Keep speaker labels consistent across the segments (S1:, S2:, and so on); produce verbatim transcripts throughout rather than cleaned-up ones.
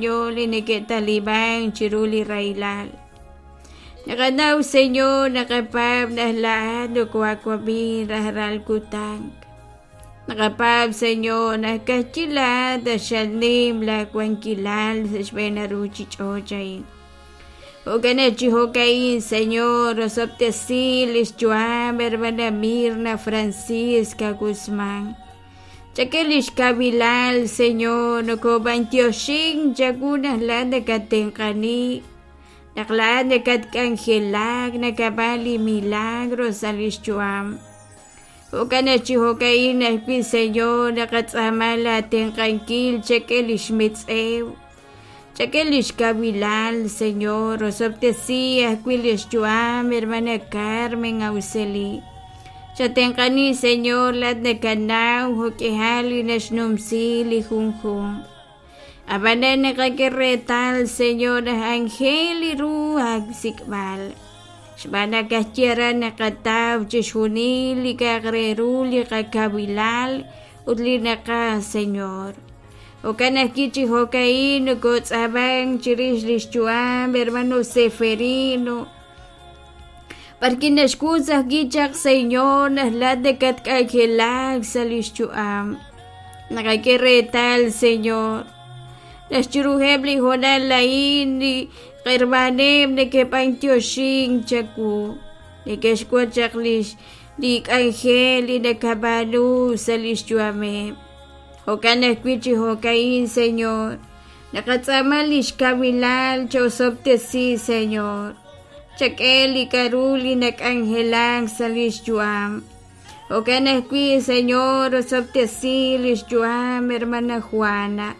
S1: Señor, li neke'taliban chiru li rahilal. Naqanaw, Señor, naqapaab' naq laa'at nokoaawab'i rajlal kutan. Naqapaab', Señor, naq ka'ajwi' laa'at xanim laawankilal sa' xb'een ruuchich'och' a'in. Jo'kan naq chi jo'ka'in, Señor, osob'tesi lix yu'am hermana Mirna Francisca Guzmán. Chak'e lix kawilal, Señor, nokob'antioxin chawu naq laa'at nakatenq'ani, naq laa'at nakatk'anjelak, nakab'an li milagro sa' lix yu'am. Jo'kan naq chi jo'ka'in ajwi', Señor, naqatz'aama laatenq'ankil chak'e lix mitz'ew, chak'e lix kawilal, Señor, osob'tesi ajwi' lix yu'am hermana Carmen Auxeli. Chatenq'ani, Señor, laa'at nakanaw jo'k'ihal li naxnumsi li junjunq. Ab'anan naqak'e reetal, Señor, naq anjel li ru aasik'b'al. Xb'aan naq ka'ajwi' aran naqataw chixjunil li k'a'aq re ru li qakawilal ut li naqaj, Señor. Jo'kan ajwi' chi jo'ka'in nokotz'aaban chirix lix yu'am hermano Seferino. B'arki naxk'ut ajwi' chaq, Señor, naq laa'at nakatk'anjelak sa' lix yu'am. Naqak'e reetal, Señor, naq chiruheb' li hoonal a'in li qhermaneb' neke'b'antioxin chawu, neke'xwotz chaq lix li k'anjel li nakab'aanu sa' lix yu'ameb'. Jo'kan ajwi' chi jo'ka'in, Señor, naqatz'aama lix kawilal chosob'tesi, Señor. Chak'e li k'aru li nak'anjelak sa' lix yu'am. Jo'kan ajwi', Señor, osob'tesi lix yu'am hermana Juana.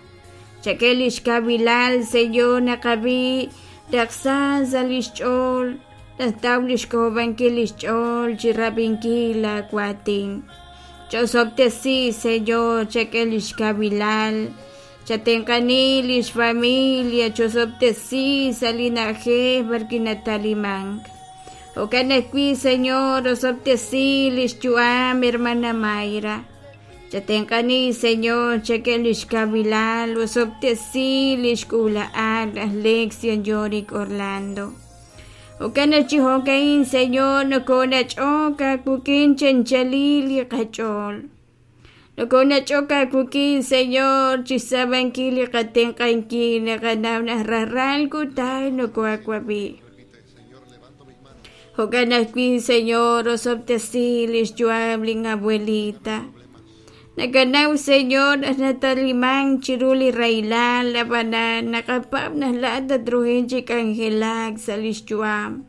S1: Chak'e lix kawilal, Señor, naqab'i raqsa sa' lix ch'ool, naqtaw lix k'ojob'ankil lix ch'ool chirab'inkil laawatin. Chosob'tesi, Señor, chak'e lix kawilal, chatenq'ani lix familia, chosob'tesi sa' li na'ajej b'arwi' natalimank. Jo'kan ajwi', Señor, osob'tesi lix yu'am hermana Mayra. Chatenq'ani, Señor, chak'e lix kawilal, osob'tesi lix k'uula'al aj Lexion Yorick Orlando. Jo'kan naq chi jo'ka'in, Señor, nokonach'ok aawik'in chanchalil li qach'ool. Nokonach'ok aawik'in, Señor, chixtz'aamankil li qatenq'ankil naqanaw naq rajlal kutan nokoaawab'i. Jo'kan ajwi', Señor, osob'tesi lix yu'am lin abuelita. Nakanaw, Señor, naq natalimank chiru li rahilal, ab'anan naqapaab' naq laa'at tatruhin chi k'anjelak sa' lix yu'am.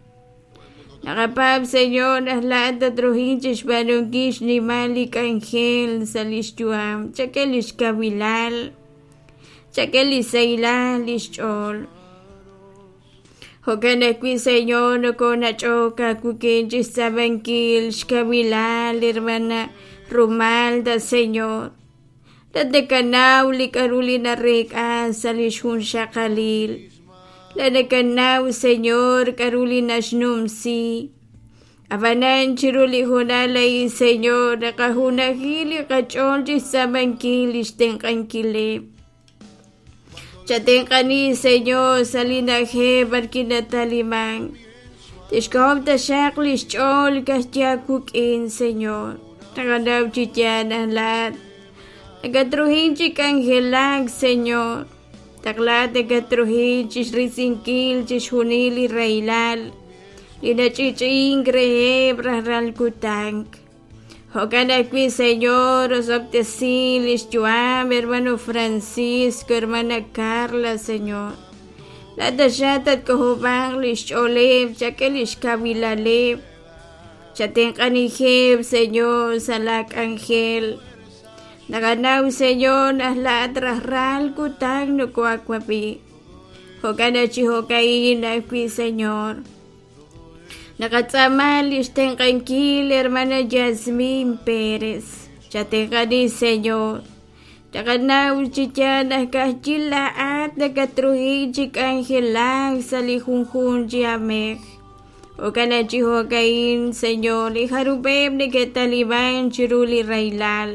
S1: Naqapaab', Señor, naq laa'at tatruhin chixb'aanunkil xnimal li k'anjel sa' lix yu'am. Chak'e lix kawilal, chak'e li sahilal lix ch'ool. Jo'kan ajwi', Señor, nokonach'ok aawik'in chixtz'aamankil xkawilal hermana Rumalda, Señor. Laa'at nakanaw li k'aru li nareek'a sa' lix junxaqalil. Laa'at nakanaw, Señor, k'aru li naxnumsi. Ab'anan chiru li hoonal a'in, Señor, naqajunaji li qach'ool chixtz'aamankil lix tenq'ankileb'. Chatenq'ani, Señor, sa' li na'ajej b'arwi' natalimank. Tixk'ojob' taxaq lix ch'ool ka'ajwi' aawik'in, Señor. Naqanaw chi yaal naq laa'at nakatruhin chi k'anjelak, Señor. Taq laa'at nakatruhin chixrisinkil chixjunil li rahilal li nach'i'ch'i'ink reheb' rajlal kutan. Jo'kan ajwi', Señor, osob'tesi lix yu'am hermano Francisco, hermana Carla, Señor. Laa'at taxaq tatk'ojob'anq lix ch'ooleb', chak'e lix kawilaleb'. Chatenq'anijeb', Señor, sa' laak'anjel. Naqanaw, Señor, naq laa'at rajlal kutan nokoaawab'i. Jo'kan naq chi jo'ka'in ajwi', Señor. Naqatz'aama lix tenq'ankil hermana Yasmin Pérez. Chatenq'ani, Señor. Naqanaw chi yaal naq ka'ajwi' laa'at nakatruhin chi k'anjelak sa' li junjunq chi amej. Jo'kan naq chi jo'ka'in, Señor, li jarub'eb' neke'taliban chiru li rahilal.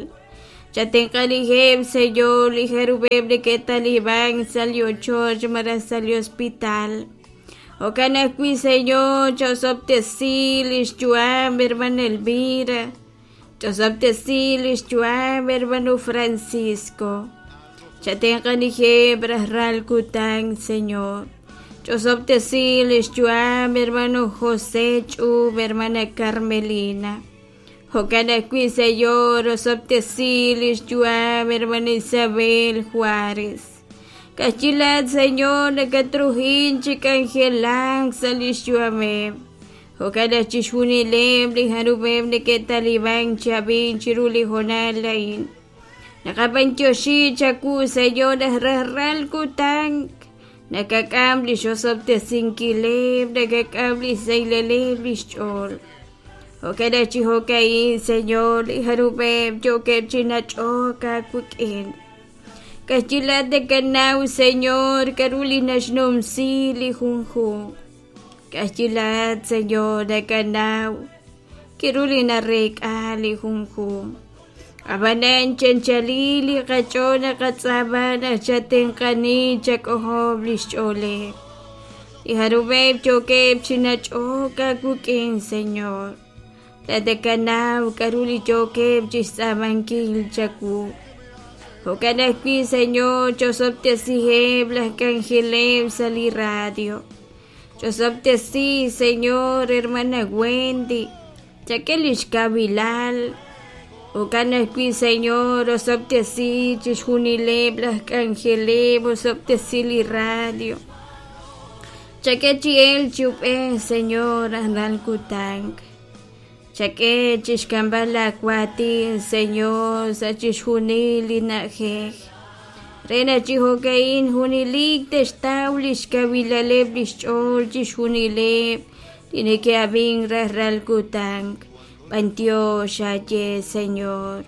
S1: Chatenq'anijeb', Señor, li jarub'eb' neke'talib'an sa' li ochoch malaj sa' li hospital. Jo'kan ajwi', Señor, cha'osob'tesi lix yu'am hermana Elvira, ch'osob'tesi lix yu'am hermano Francisco. Chatenq'anijeb' rajlal kutan, Señor. Ch'osob'tesi lix yu'am hermano José Ch'ub, hermana Carmelina. Jo'kan ajwi', Señor, osob'tesi lix yu'am hermana Isabel Juárez. Kajchilaat, Señor, nakatrujin chi k'anjelank sa' lix yu'ameb'. Jo'kan aj chixjunileb' li jarub'eb' neke'talib'an chab'in chiru li hoonal a'in. Naqab'antioxi chawu, Señor, naq rajlal kutan nakak'am lix osob'tesinkileb', nakak'am lix sahilal lix ch'ool. Jo'kan aj chi jo'ka'in, Señor, li jarub'eb' yookeb' chi nach'ok aawik'in. Kajchilaat nakanaw, Señor, k'a'ru li naxnumsi li junjunq. Kajchilaat, Señor, nakanaw k'a'ru li nareek'a li junjunq. Ab'anan chanchali li qach'ool naqatz'aama naq chatenq'ani chak'ojob' lix ch'ooleb'. Li jarub'eb' yookeb' chi nach'ok aawik'in, Señor. Laat nakanaw k'a'ru li yookeb' chixtz'aamankil chawu. Jo'kan ajwi', Señor, ch'osob'tesiheb' laj k'anjeleb' sa' li radio. Ch'osob'tesi, Señor, hermana Wendy, chak'e lix kawilal. Jo'kan ajwi', Señor, osob'tesi chixjunileb' laj k'anjeleb', osob'tesi li radio. Chak'e chi elk chi ub'ej, Señor, rajlal kutan. Chak'e chixk'amb'al laawaatin, Señor, sa' chixjunil li na'ajej. Re naq chi jo'ka'in junelik te'xtaw lix kawilaleb' lix ch'ool chixjunileb' li neke'ab'in rajlal kutan. B'antiox aye, Señor.